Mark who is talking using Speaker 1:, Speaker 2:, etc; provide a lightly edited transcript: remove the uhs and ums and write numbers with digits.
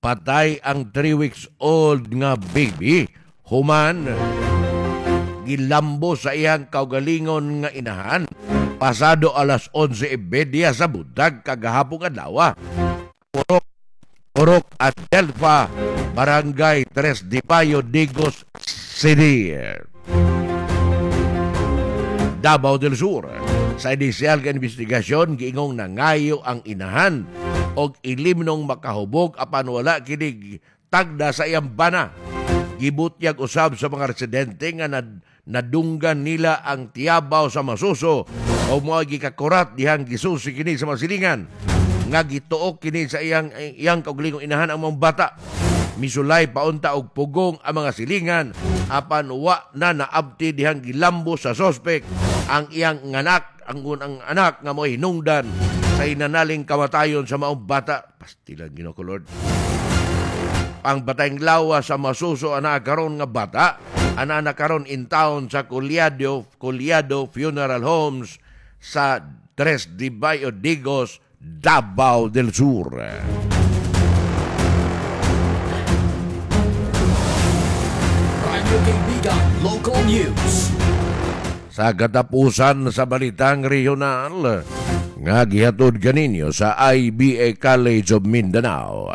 Speaker 1: Patay ang 3 weeks old nga baby human gilambo sa iyang kaugalingon nga inahan pasado alas 11:30 sa buntag kagahapon adlaw. Purok Purok Adelfa, Barangay Tres de Mayo, Digos City, Davao del Sur. Sa inisyal nga investigasyon, giingong nangayo ang inahan og ilimnong makahubog apan wala kini tagda sa iyang bana. Gibutyag usab sa mga residente nga nadunggan nila ang tiyabaw sa masuso o mga gikakurat dihang gisusi kini sa mga silingan nga gituok kini sa iyang iyang kaugalingong inahan ang mga bata. Misulay paunta og pugong ang mga silingan apan wa na naabti dihang gilambo sa sospek ang iyang nganak ang ang anak nga mo'y hinungdan sa inanaling kamatayon sa maong bata. Pastilan, Ginoo ko Lord. Ang batayng lawa sa masuso ana karon nga bata ana na karon in town sa Collado Collado Funeral Homes sa Tres de Mayo, Digos, Davao del Sur.
Speaker 2: Radyo Kaibigan Local News.
Speaker 1: Sa katapusan sa balitang regional nga gihatod kaninyo sa IBA College of Mindanao.